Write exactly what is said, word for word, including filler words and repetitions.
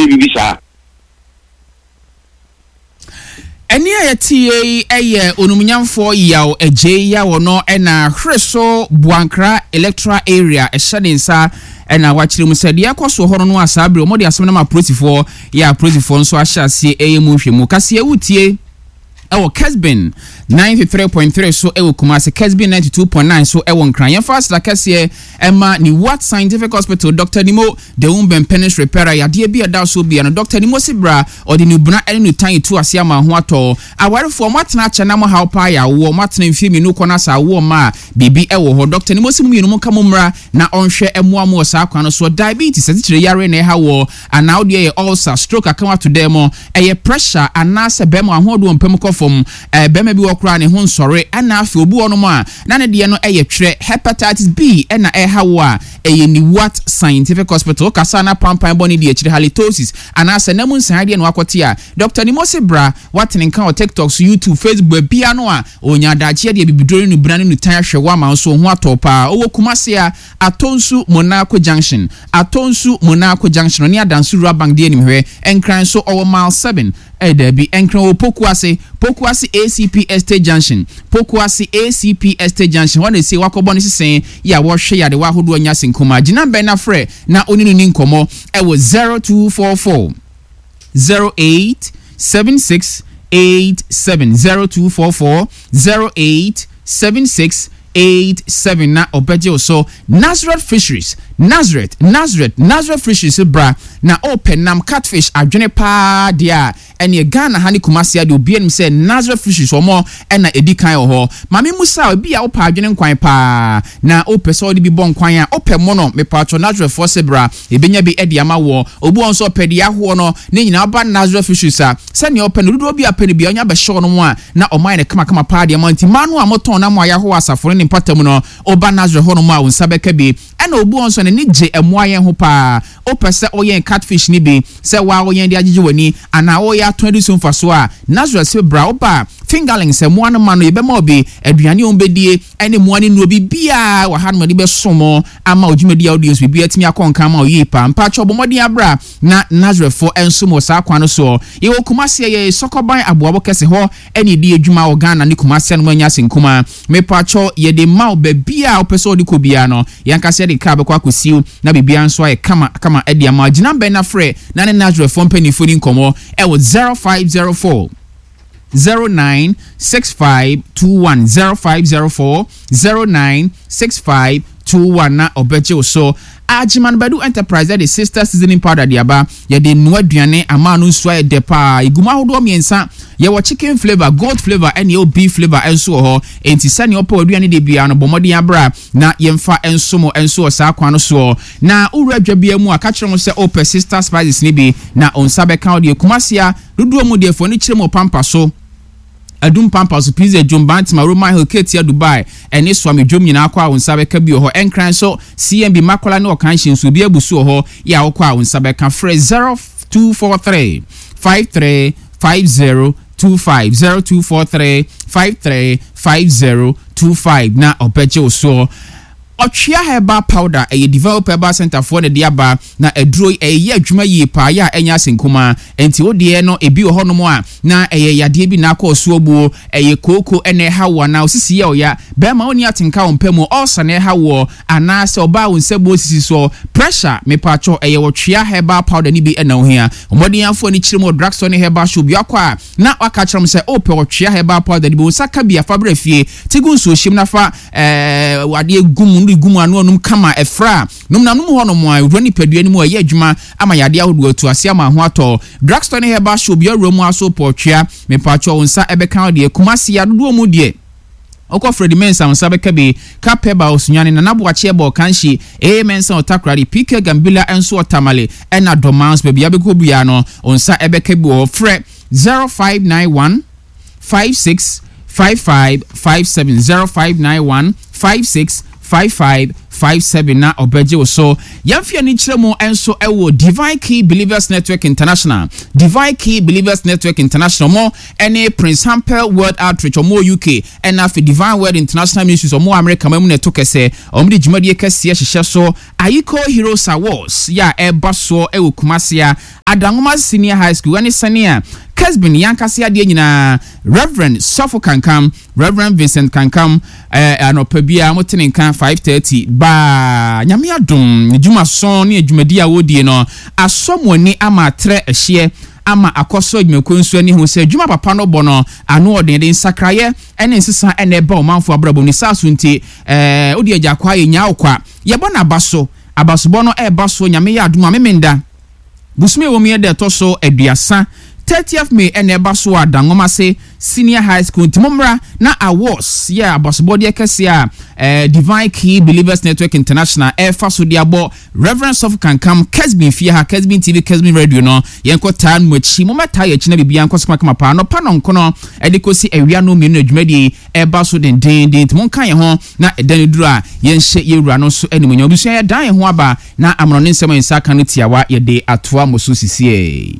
Ɔbɛyɛ biribi saa. Ɛnne a yɛteeɛ yi yɛ Onumnyamfoɔ Yaw Adjei Yaw ɔno na Hwereso Boankra Electoral Area ɛhyɛ ne nsa na wakyerɛ mu sɛ deɛ ɛrekɔ soɔ hɔ no no a saa berɛ wɔde asɛm no ma apolisifoɔ yɛ apolisifoɔ nso ahyɛ aseɛ ɛyɛ mu nhwɛmu. Kaseɛ wotie ɛwɔ Kesbin ninety three point three so ɛwɔ Kumasi, Kesbin ninety two point nine so ɛwɔ Nkran. Yɛmfa aseda kɛseɛ ɛma ne Wat Scientific Hospital, Doctor Nimo Dewumben Penis Repairer, yadeɛ bi a ɛda so bia no, Doctor Nimo si bra, ɔde nubena ɛne nutan etu ase ama ho atɔ. Awarefoɔ, mo atena akyɛ na mo haw paa yɛ awoɔ, mo atena mfie mmienu kɔ na sɛ awoɔ mma a, biribi ɛwɔ hɔ. Doctor Nimo si mo mmienu mo nka mo mmra na ɔnhwɛ ɛmoa mo wɔ saa kwan no soɔ. Diabetes, asikyire yareɛ na ɛha woɔ, anaa wodeɛ yɛ ulcer, stroke aka wo ato dɛm mo, ɛyɛ pressure anaasɛ bɛrima ahoɔden wɔ mpam kɔ fam, ɛɛ bɛrima bi wɔ koraa ne ho nsɔre, ɛna afei obi wɔ nom a na ne deɛ no ɛyɛ twerɛ, hepatitis B ɛna ɛha wo a, ɛyɛ Niwat Scientific Hospital. Kasa na pampan bɔ ne di akyire, halitosis anaasɛ nam nsan deɛ na wakɔte a, Doctor Nimose bra watene nka wɔ TikTok so, YouTube, Facebook, baabi no a onya adagyeɛ deɛ bibiduro ne nubena ne nutan ahwɛ wo ama nso ho atɔ paa. Ɔwɔ Kumase a Atonsu Monaco Junction, Atonsu Monaco Junction ne Adanso Rural Bank deɛ anim hwɛ. Nkran so ɔwɔ Mile seven, ɛyɛ daabi, Nkran wɔ Pokuase, Pokuase A C P Estate Junction, Pokuase A C P Estate Junction hɔ na esi wakɔbɔ ne sesen yɛ a wɔhwɛ yade wɔ ahodoɔ nya senkoma. Gyina bɛn na frɛ na oni no ni nkɔmɔ ɛwɔ zero two four four zero eight seven six eight seven, zero two four four zero eight seven six eight seven na ɔbɛgye so. Nazareth Fisheries, Nazareth, Nazareth, Nazareth Fisheries bra na ɔpɛ nam catfish adwene paa deɛ a ɛne Ghana ha ne Kumasi ade obi anim sɛ Nazareth Fisheries wɔn ɛna edi kan wɔ hɔ. Maame Musa, obi a ɔpɛ adwene nkwan paa na ɔpɛ sɛ ɔde bi bɔ nkwan a ɔpɛ mono mepatro Nazareth fo se bra ebenya bi ɛde ama wɔ. Obi wɔn nso ɔpɛ deɛ ahoɔ no ne nyinaa ɔba Nazareth Fisheries a sɛnea ɔpɛ no dodoɔ bi apɛ no bi ɔnya bɛhyɛ ɔno mu a na ɔman ne kamakama paa deɛ ma nti mmaa no a motɔn na mo a yɛaho asafo ne mpata mu no ɔba Nazareth hɔ nom a wo nsa bɛka bi. Ɛna obi wɔn nso n'ani gye ɛmoa yɛn ho paa ɔpɛ sɛ ɔyɛn catfish ni bi sɛ waa ɔyɛn de agyegye w'ani anaa ɔyɛ atɔn adi so mfa so a Nazareth sɛ bra ɔba fingerlings mmoa no ma no yɛbɛma obi aduane a wɔbɛdie ɛne mmoa no nnuro biribiara wɔ ha nom de bɛsom ama odwumadi a wode nso biribiara atumi akɔ nkan ma ɔyie paa. Mpakyɛ ɔbɔ mmɔden abra na Nazarethfoɔ nso wɔ saa kwan no soɔ. Yɛwɔ Kumasi, yɛ Sɔkɔban aboabo kɛse hɔ ɛne yɛdi adwuma wɔ Ghana ne Kumasi no anya ase nkuma. Mepakyɛ yɛde ma wo baabi a wopɛ sɛ wode kɔ biara no yɛnkasa yɛde kaa bɛkɔ akɔsiw na biribiara nso ayɛ kama kama ɛde ama. Gyina bɛn na frɛ na ne Nazarethfoɔ mpanimfoɔ ni nkɔmmɔ ɛwɔ zero five zero four zero nine six five two one, zero five zero four zero nine six five two one na ɔbɛgye wo so. Ajiman Badu Enterprise de Sister Seasoning Powder de aba. Yɛde noa aduane ama no nso ayɛ dɛ paa. Egu mu ahodoɔ mmiɛnsa, yɛwɔ chicken flavour, goat flavour ɛne yɛwɔ beef flavour nso wɔ hɔ. Enti sɛnea ɔpɛ aduane de biara no bɔ mmɔden abra na yɛmfa nso mo nso wɔ saa kwan no soɔ. Na wowura adwa bia mu a ka kyerɛ mo sɛ ɔpɛ Sister Spices ne bi na nsa bɛka wo deɛ. Kumasi a dodoɔ mu deɛ fo ani kyerɛ mu pampa so, Adum Pampa so, Pizza Dwom, Bantima, Roman Hill, Ketia, Dubai, ɛne Suame Dwom nyinaa kɔ a wo nsa bɛka bi wɔ hɔ. Ɛnkran so C M B Makola ne Ɔkanhye nso obi abu so wɔ hɔ yɛ a wokɔ a wo nsa bɛka. Frɛ zero two four three five three five zero two five, zero two four three five three five zero two five na ɔbɛgye wo soɔ. Ɔtwea herbal powder ɛyɛ Develop Herbal Center foɔ na de aba na aduro ɛyɛ adwuma yie paa yɛ a ɛnyɛ ase nkuma. Enti wo deɛ no ebi wɔ hɔnom a na ɛyɛ yadeɛ bi na akɔ so abuo, ɛyɛ kooko ɛna ɛha wo anaa osisi yɛ ɔya, bɛrima wo ni atenka wo mpɛ mu, ɔɔsa na ɛha woɔ anaasɛ ɔbaa wo nsa buo sisi soɔ, pressure mepatwɔ ɛyɛ ɔtwea herbal powder ni bi ɛna ohia. Ɔmɔden afoɔ ni kyerɛ mu wɔ drugstore ne herbal shop bi akɔ a na waka kyerɛ mo sɛ ɔpɛ ɔtwea herbal powder ni bi wo nsa ka bi afa brɛ fie ti gu nsuo hyɛm na fa ɛɛ wadeɛ gu mu no gu mu ano anum kama ɛfra nom na nom hɔ nom a wura nipadua no mu ɛyɛ adwuma ama yadeɛ ahodoɔ atu ase ama ho atɔ. Drugstore ne herbal shop bi awura mu aso pɔtwea mepatwɔ wo nsa ɛbɛka wo deɛ. Kumasi adodoɔ mu deɛ ɔkɔ Freddy Mensah nsa bɛka bi, Kapeba Osunyane, Nana Boakye ɛbɔ Ɔkanhye, A Mensah Ɔtakoradi, P K Gambila nso Ɔtamale ɛna Dɔmans baabi abɛkɔ bia no nsa ɛbɛka bi wɔ hɔ. Frɛ zero five nine one five six five five five seven, zero five nine one five six five five five seven na ɔbɛgye wo so. Yɛmfe ani kyerɛ mu nso ɛwɔ Divine Key Believers Network International. Divine Key Believers Network International mo ɛne Prince Hampel World Outreach ɔmo wɔ U K, ɛna afei Divine Word International Ministries ɔmo wɔ America ma mu na ɛto kɛsɛ. Ɔmo de dwumadie kɛseɛ hyehyɛ so, Ayiko Heroes Awards yɛ a ɛba soɔ ɛwɔ Kumase a Adanwoma Senior High School, ɛne sɛnea Kesbin yankase adeɛ nyinaa, Reverend Sɔfo Kankam, Reverend Vincent Kankam, ɛɛ anɔpa biara mote ne nka five thirty baa. Nyame adom ne dwumason ne adwumadi a wɔredie no asɔ mo ani ama atrɛ ɛhyeɛ ama akɔsɔ adwumakuo nso ani ho sɛ adwuma papa no bɔ no ano ɔden de nsakraeɛ ɛne nsesa ɛna ɛba ɔmanfo abrabɔ ne saa so. Nti ɛɛ wode agya kwa yɛ nyaa wo kwa, yɛbɔ n'aba so, abasobɔ no ɛɛba so. Nyame yɛ adom a, Memenda bosome wɔ mu yɛ dɛ ɛtɔ so aduasa, thirtieth May, ɛna ɛba so a Dangomase Senior High School. Nti mommra na awards yɛ abasobɔdeɛ kɛseɛ a eh, Divine Key Believers Network International ɛfa so de abɔ Reverend Sɔfo Kankam, Kesbin fie ha, Kesbin T V, Kesbin Radio no. Yɛnkɔ taa no mu akyi, mommɛtaa yɛ akyi na biribiara nkɔ so kamakama paa. Nɔpa nɔnkono ɛde kɔsi awia no mmienu na dwumadie ɛba so dendenden, nti monka yɛn ho na ɛda no duru a yɛnhyɛ yɛwura no nso animuonyam. Abusua, yɛdan yɛn ho aba na amono ne nsɛm a yɛnsa ka no tiawa yɛde atoa mo so sisie.